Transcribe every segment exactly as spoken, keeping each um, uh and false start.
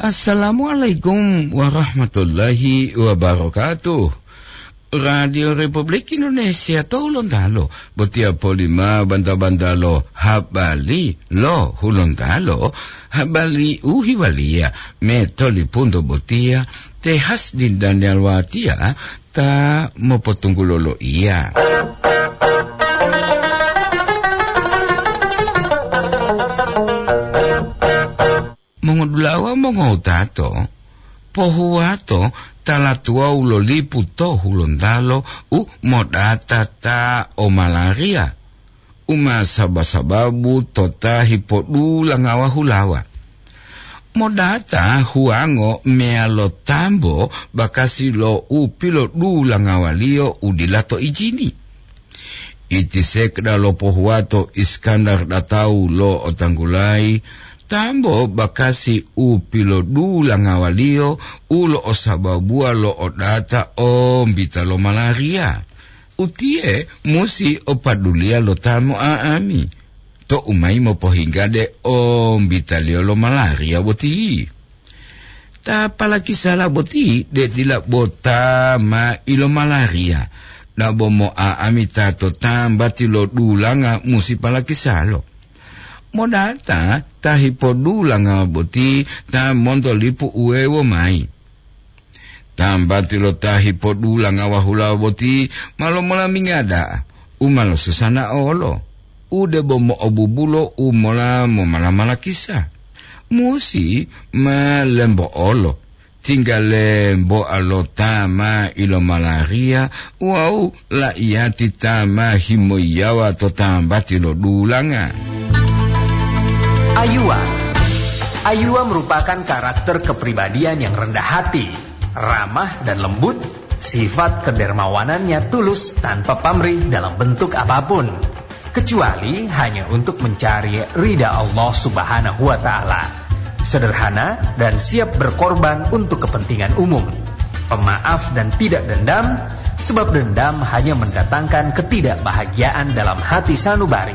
Assalamualaikum warahmatullahi wabarakatuh. Radio Republik Indonesia to Hulontalo, botiya polima banta-bantalo habari lo Hulontalo, habari u hiwaliya me tolipunto botiya te Hasdin Daniel Watia ta mopotunggulo loiya. Mongodulawa mongowutato, pohuwato tala tuwawu lo lipu to Hulontalo u modata ta o malaria, u ma saba-sababu to ta hipodulanga wahulawa. Modata huwango meyalo tambo bakasi lo u pilodulangawaliyo u dila to ijini. Iti sekda lo pohuwato Iskandar datau lo otanggulayi, tambo bakasi u pilodulangawaliyo u lo'osababuwa lo odata ombita lo malaria. Utiye musi o paduliya lo ta mo'a'ami, to'u mayi mopohinggade ombitaliyo lo malaria boti. Ta palakisala boti de dila bo ta ma ilomalaria, dabo mo'a'ami ta to tambati lo dulanga musi palakisalo. Modata ta hipodulanga boti ta monto lipu uwewo mayi. Tambati lo ta hipodulanga wahulawa boti ma lomolaminga da'a, u ma losusana olo, u debo mo'obubulo u mola momala-malakisa. Musi ma lembo'olo, tingga lembo'a lo ta ma ilomalaria wawu la'iyati ta ma himoyiyawa to tambati lo dulanga. Ayuwa. Ayuwa merupakan karakter kepribadian yang rendah hati, ramah dan lembut, sifat kedermawanannya tulus tanpa pamrih dalam bentuk apapun, kecuali hanya untuk mencari ridha Allah Subhanahu wa Ta'ala. Sederhana dan siap berkorban untuk kepentingan umum. Pemaaf dan tidak dendam, sebab dendam hanya mendatangkan ketidakbahagiaan dalam hati sanubari.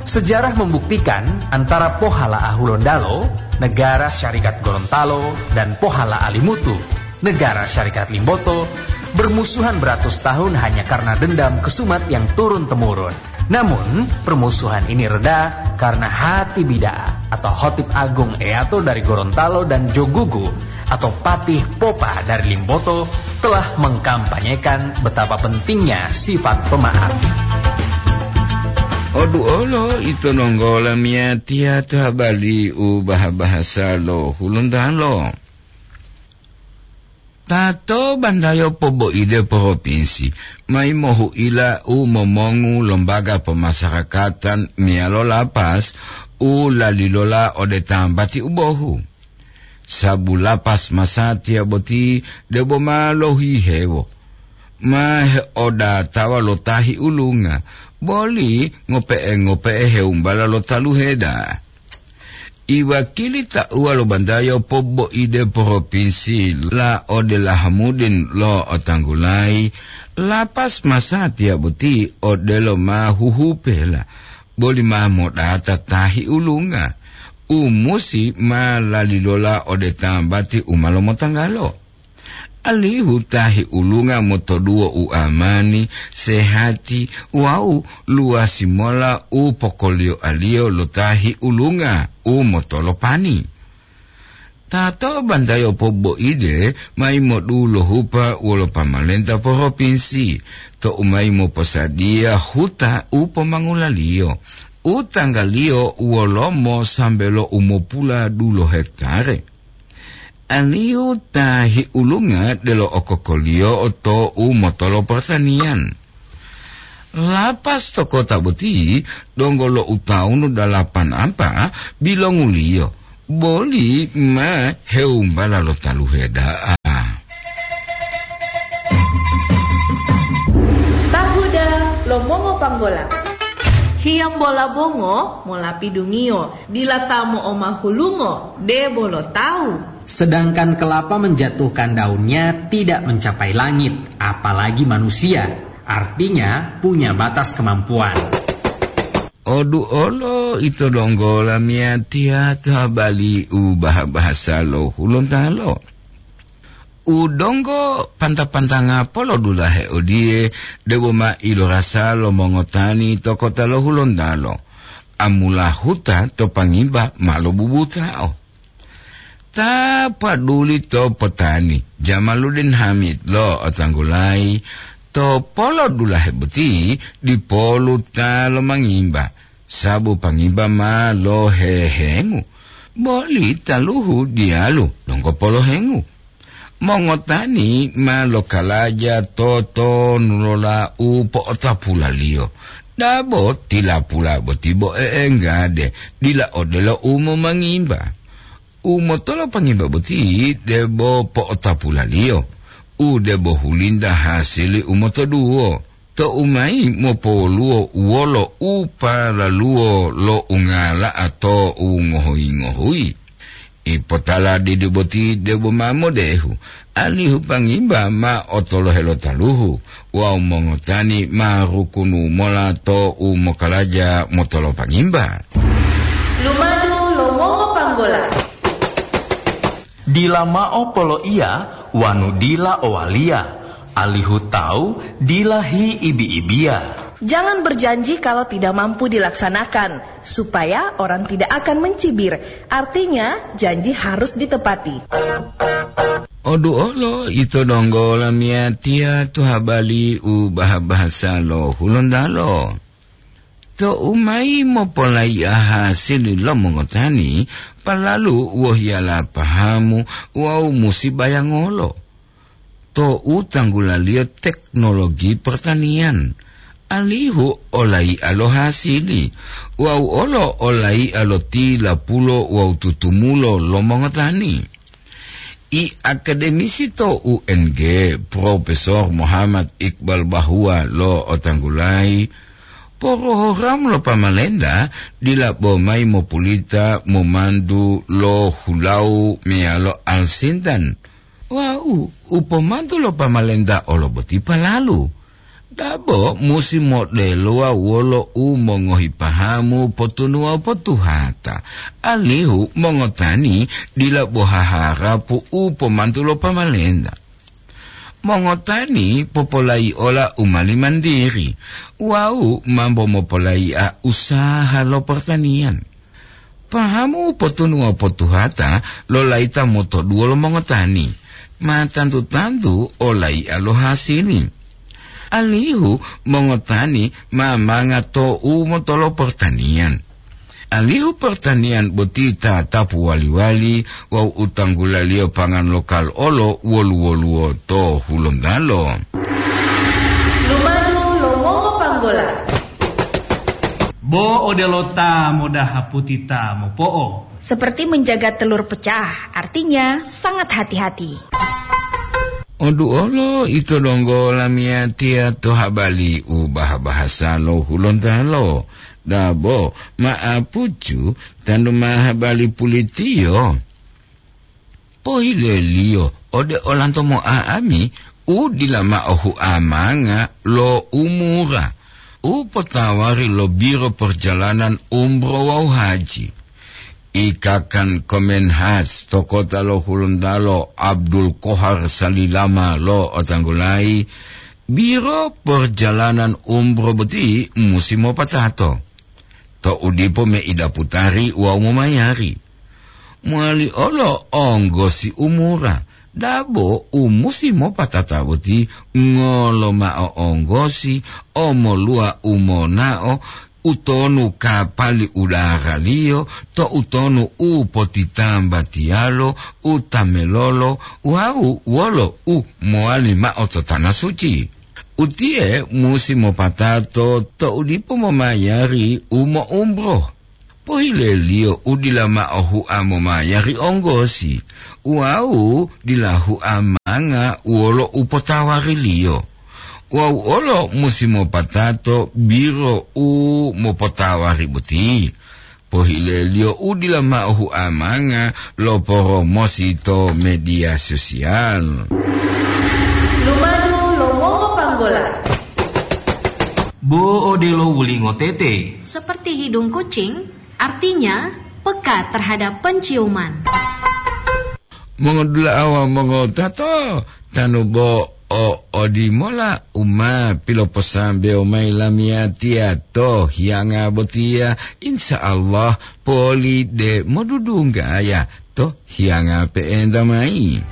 Sejarah membuktikan antara Pohala Ahulondalo, Negara Syarikat Gorontalo, dan Pohala Alimutu, Negara Syarikat Limboto, bermusuhan beratus tahun hanya karena dendam kesumat yang turun-temurun. Namun, permusuhan ini reda karena hati bida'a atau Hotip Agung Eato dari Gorontalo dan Jogugu atau Patih Popa dari Limboto telah mengkampanyekan betapa pentingnya sifat pemaaf. Odu olo ito nonggola miyatiya to habari u baha-bahasa lo Hulontalo. Tato bandayo poboide poropinsi, mai mohuila u momongu lombaga pomasarakatan meyalo lapas u lalilola ode tambati u bohu. Sabu lapas masatiya boti debo ma lohihewo, ma heodatawa lo tahi ulunga, boli ngope'e-ngope'e heumbala lo taluheda. Iwakili tauwa lo bandayo poboide poropinsi la ode Lahamudin lo otanggulayi, lapas masatiya boti odelo ma huhupela, boli ma modata tahi ulunga, u musi ma lalilola ode tambati u ma lomotanggalo. Alihu tahi ulunga motoduwo u amani, sehati wawu luwasi mola u pokolioaliyo lo tahi ulunga u motolopani. Tato bantayo poboide mayi modulohupa wolo pamalenta poropinsi, to'u mayi moposadiya huta u pomangulaliyo, u tanggaliyo wolomo sambe lo umopula dulo hektare. Alihu tahi ulunga delo okokoliyo to u motolo pertanian. Lapas to kota boti donggo lo utawunu dalapan ampa bilonguliyo, boli ma heumbala lo taluhe da'a. Tahuda lo mongo panggola. Hiyambola bongo molapidungiyo, dila ta mo'omahulungo, debo lo tawu. Sedangkan kelapa menjatuhkan daunnya tidak mencapai langit, apalagi manusia. Artinya punya batas kemampuan. Odu olo ito donggo lamiyatiya to habali u baha-bahasa lo Hulontalo. U donggo panta-pantanga polodulahe odiye, debo ma ilorasa lo mongotani to kota lo Hulontalo. Amula huta to Pangimba ma lobubutao. Ta paduli to potani, Jamaluddin Hamid lo otanggulayi, to polodulahe boti dipolu ta lomangimba, sabu Pangimba ma lohehengu, boli taluhu diyalu donggo polohengu. Mongotani ma lokalaja to tonu lola u po'otapulaliyo. Dabo tilapula boti bo e'enggade, dila odelo u momangimba. U motolo Pangimba boti debo po'otapulaliyo, u debo hulinta hasili u motoduwo, to u mayi mopowoluwo wolo u palaluwo lo ungala'a to u ngohuyi-ngohuyi. Ipotala didi boti debo ma modehu, alihu Pangimba ma otolohe lo taluhu wawu mongotani ma rukunu mola to u mokalaja motolo Pangimba. Lumadu lo mongopanggola. Dila mao poloiya wanu dila owaliya, alihu tawu dila hiibi-ibiya. Jangan berjanji kalau tidak mampu dilaksanakan, supaya orang tidak akan mencibir. Artinya, janji harus ditepati. Odu olo ito donggo lamiyatiya to habali u baha-bahasa lo Hulontalo. To u mayi mopolaiya hasili lo mongotani, palalu wohiyala pahamu wawu musi bayangolo. To u tanggulaliyo teknologi pertanian, alihu olaiya lo hasili, wawu olo olaiya lo tilapulo wawu tutumulo lo mongotani. I akademisi to U N G, Profesor Muhammad Iqbal Bahwa lo otanggulayi, porohoramu lo pamalenta dila bo mayi mopulita momantu lo hulawu meyalo alsintan. Wawu u pomantu lo pamalenta olo boti palalu. Dabo musi modelowa wolo u mongohi pahamu potunuwa potuhata, alihu mongotani dila bo haharapu u pomantu lo pamalenta. Mongotani popolayi ola u mali mandiri wawu mambo mopolayi'a usaha lo pertanian. Pahamu potunuwa potuhata lo layita motoduwo lo mongotani, ma tantu-tantu olaiya lo hasili. Alihu mongotani ma manga to u motolo pertanian. Alihu pertanian boti tatapu wali-wali wawu u tanggulaliyo pangan lokal olo wolu-woluwo to Hulontalo. Lumadu lo mongopanggola. Bo odelo ta modaha puti ta mopo'o. Seperti menjaga telur pecah, artinya sangat hati-hati. Odu olo ito donggo lamiyatiya to habali u baha-bahasa lo Hulontalo. Dabo ma'apucu tanu ma habali pulitiyo. Pohileliyo ode olanto mo'a'ami u dila mao huamanga lo umura u potawari lo Biro Perjalanan Umroh wawu Haji. Ikakan Komenhaj to kota lo Hulontalo Abdul Kohar Salilama lo otanggulayi, Biro Perjalanan Umroh boti musi mopatato. To u dipo meida putari wawu momayari. Mowali olo onggosi umura, dabo u musi mopatata boti ngolo mao onggosi, omoluwa u monao, utonu kapali udaraliyo, to utonu u potitambatiyalo, u tamelolo, wawu wolo u mowali mao to tana suci. Utiye musi mopatato to u dipo momayari u mo'umroh. Pohileliyo u dila mao hua momayari onggosi, wawu dila hua manga wolo u potawariliyo. Wawu olo musi mopatato biro u mopotawari boti. Pohileliyo u dila mao hua manga lo poromosi to media sosial. Lumadu lo mongopanggola. Bo odelo wulingo tete. Seperti hidung kucing, artinya peka terhadap penciuman. Mongodula'a wawu mongotato, tanu bo o odimola u ma piloposambewo mayi lamiyatiya to hiyanga botiya, insya Allah poli de modudunggaya to hiyanga pe'enta mayi.